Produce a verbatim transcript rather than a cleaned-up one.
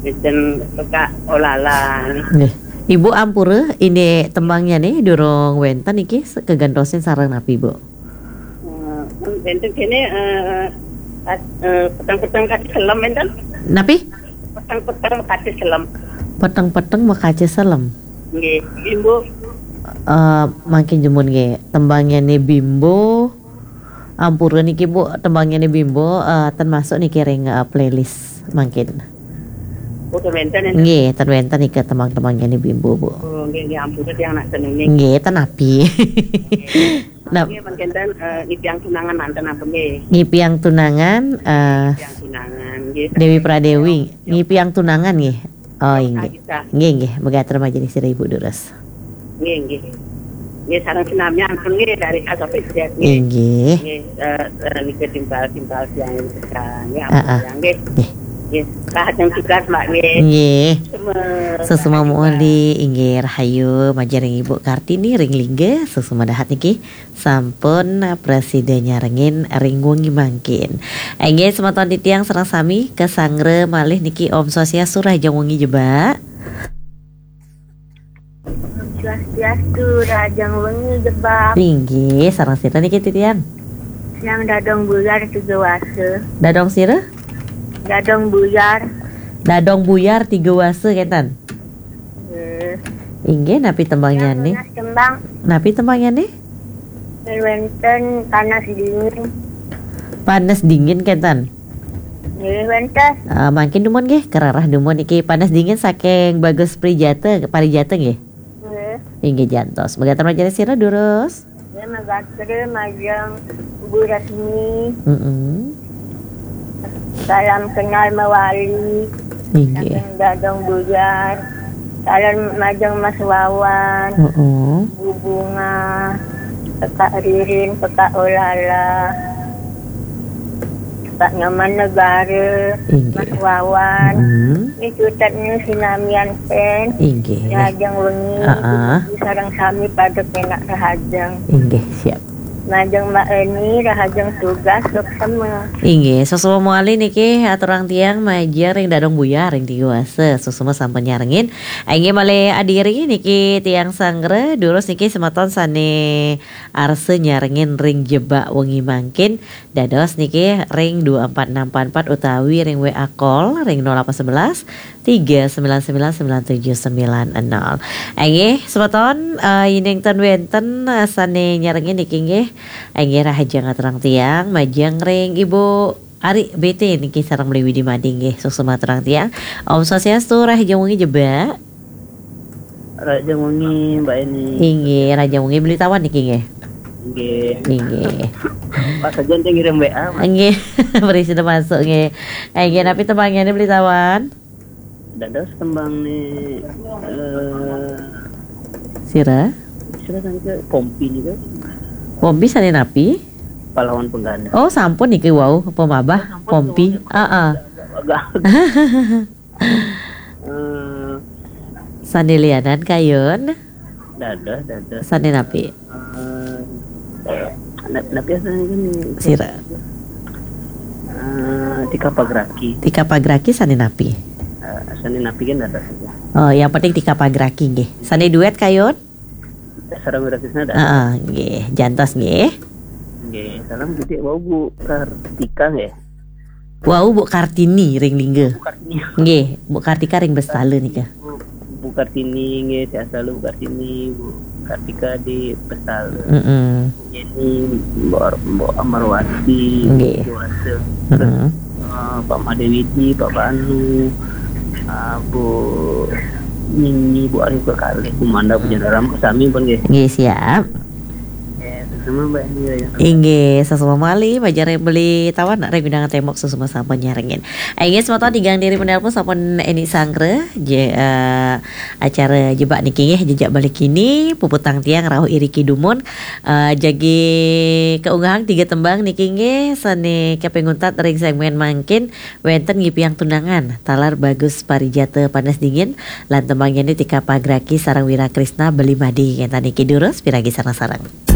Wénten Kak Olala. Nggih. Ibu ampura, indik tembangnyané durung wénten niki se-, kagentosin sareng napi, Bu? Eh, wénten kéné, eh, kat-, eh, peteng-peteng kaca selem wénten? Napi? Peteng-peteng kaca selem. Peteng-peteng makaca selem. Nggih, Bimbo. Eh, mangkin dumun nggih, tembangnyané Bimbo. Ampura niki, Bu, tembangnyané Bimbo, eh, ten masuk niki ring, eh, playlist mangkin. Oh, ten wénten ya? Nggih, ten wénten nika tembang-tembangnyané Bimbo, Bu. Oh, nggih, nggih, ampura tiang nak senengé. Nggih, ten napi. Nah, nggih, mangkin ten, eh, Ngipiang Tunangan manten apa nggih? Ngipiang Tunangan, eh, Ngipiang Tunangan, nggih. Déwi Pradewi, Ngipiang Tunangan nggih. Oh, inggih. Nggih, nggih, megater majeng sira Ibu durus. Nggih, nggih. Nggih, sareng sinamian pun nggih dari A sampai Z nggih. Inggih. Nggih, eh, eh, niki timpal-timpal tiang sekarang nggih, ampun tiang nggih. Nggih. Nggih, rahajeng tugas, Mbak nggih. Nggih. Suksma. Suksma muli, inggih, rahayu, majeng ring Ibu Kartini ring Lingga, suksma dahat niki. Sampun prasida nyarengin ring wengi mangkin. Inggih, semeton titiang sareng sami kasanggra malih niki, Om Swastiastu, rahajeng wengi Jebak. Om Swastiastu, rahajeng wengi Jebak. Inggih, sareng sira niki titiang? Tiang Dadong Buyar Tiga Wasa. Dadong sira? Dadong Buyar. Dadong Buyar Tiga Wasa kénten. Nggih. Inggih, napi tembangnyané? Tiang nunas tembang. Napi tembangnyané? Wénten Panas Dingin. Panas Dingin kénten? Nggih, wénten. Ah, mangkin dumun nggih, karereh dumun niki Panas Dingin saking Bagus Prijata, Parijata nggih? Nggih. Inggih jantos. Megater majeng sira durus. Nggih, megater majeng Bu Rasmi. Mm-mm. Salam kenal mawali. Inggih. Saking Dadong Buyar. Salam majeng Mas Wawan. Mm-mm. Bu Bunga. Kakak Ririn, Kakak Olala. Pak Nyoman Negara, inggih. Mas Wawan. Mm-mm. Ini cutetnya sinamian pen. Inggih. Rahajeng wengi, ah, ah. Ibu sareng sami pada kenak rahajeng. Inggih, siap. Majeng Mbak Eni, rahajeng tugas, suksma. Inggih, suksma malih niki aturang tiang majeng ring Dadong Buyar ring Tiga Wasa, suksma sampun nyarengin. Inggih malih adiri niki tiang sanggra, durus niki semeton sané arsa nyarengin ring Jebak wengi mangkin, dados niki ring dua empat enam empat empat utawi ring W A call ring nol delapan sebelas tiga sembilan sembilan sembilan tujuh sembilan nol. Inggih, semeton, eh, yéning ten wénten, eh, sané nyarengin niki nggih. Inggih, rahajeng aturang tiang, majeng ring Ibu Ari B T niki sareng Beli Widi Madi nggih, suksma aturang tiang. Om Swastiastu, rahajeng wengi Jebak. Rahajeng wengi, Mbak Eni. Inggih, rahajeng wengi Beli Tawan niki nggih. Inggih. Inggih. Pas saja nanti ngirim W A, Mas. Inggih, prasida masuk nggih. Inggih, napi tembangnyané Beli Tawan? Dados tembang nih, eh, sira? Sira kan ke Pompi nih kan. Pompi sané napi? Pahlawan Pengganti. Oh, sampun niki wau, pemabah, oh, sampun, Pompi. Sampun. Heeh. Agak, agak. Eh, sané lianan kayun? Dados, dados. Sané napi? Eh, na-, napi asané gini? Sira. Eh, Tika Pagraki. Tika Pagraki sané napi? Eh, sané napi kan dados. Oh, yang penting Tika Pagraki nggih. Sané duet kayun? Sareng Wira Krisna dados. Heeh, nggih, jantos nggih. Nggih, salam gedé wau Bu Kartika nggih. Wau Bu Kartini ring Lingga. Bu Kartini. Nggih, Bu Kartika ring Bestala nika. Bu, Bu Kartini nggih, sehat selalu Bu Kartini, Bu Kartika di Bestala. Mm-mm. Yeni, Mbok, Mbok Amarwati, nggih. Dewasa. Mm-mm. Eh, Pak Made Widi, Pak Banu, eh, Bu Nini, Bu Arif kekalih, Bu Manda, Bu Jadaram, sami pun nggih. Nggih, siap. Nggih, suksma Mbak Eni, ya. Inggih, suksma malih, majeng ring Beli Tawan, ring Gunung Tembok, suksma sampun nyarengin. Inggih, semeton tigang diri penelpon sampun Eni Sanggra, je-, eh, acara Jebak niki nggih, jejak balik kini, puputang tiang rauh iriki dumun, eh, jagi kaunggahang tiga tembang niki nggih, sané kaping untat ring segmen mangkin, wénten Ngipiang Tunangan, taler Bagus Parijata Panas Dingin, lan tembangnyané Tika Pagraki sareng Wira Krisna Beli Madi, kénten niki durus, piragi sareng-sareng.